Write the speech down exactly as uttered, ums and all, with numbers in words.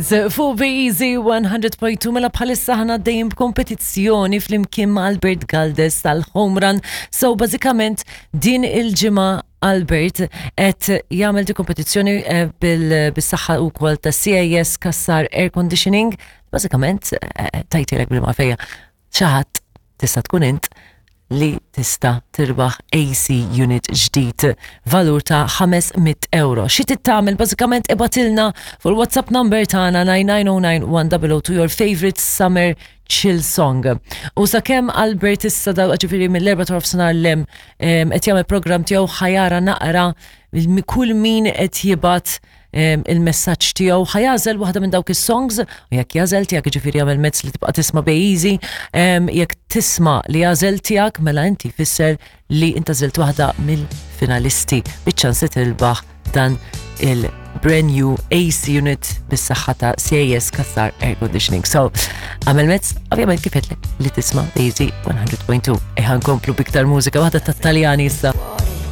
Fuq Easy one hundred point two, mela bħalissa ħana dejjem b'kompetizzjoni flimkien ma' Albert Galdes tal-Home Run. So bażikament din il-ġimgħa Albert qed jagħmel di kompetizzjoni eh, bil-saħħa wkoll ta' C A S Cassar Air Conditioning. Bażikament eh, tajtilek bil-mafeja. Xi ħadd, tista' tkun int li tista' tirbaħ A C unit ġdid valur ta' ħames mitt euro. Xi tagħmel bażikament, ibgħatilna fuq il-WhatsApp number tagħna nine nine zero nine one zero zero two your favorite summer chill song. U sakemm Albert issa da ġifieri mill-erba' ta' nofsinhar 'l hemm qed jagħmel program tiegħu, ħa jara naqra kull min qed jibgħat il-messaġġ tiegħu, ħa jagħżel waħda minn dawk is-songs u jekk jagħżel tiegħek, ġifieri jagħmel mezz li tibqa' tisma' Easy, jekk tisma' li għażel tiegħek, mela inti fisser li inta għażilt waħda mill-finalisti biċ-ċans li tirbaħ dan il-brand new A C unit bis-saħħa ta' C A S Cassar Air Conditioning. So, għamel mezz, ovvjament kif li tisma' Easy one hundred point two. Eħa nkomplu b'iktar mużika, waħda tat-Taljani issa.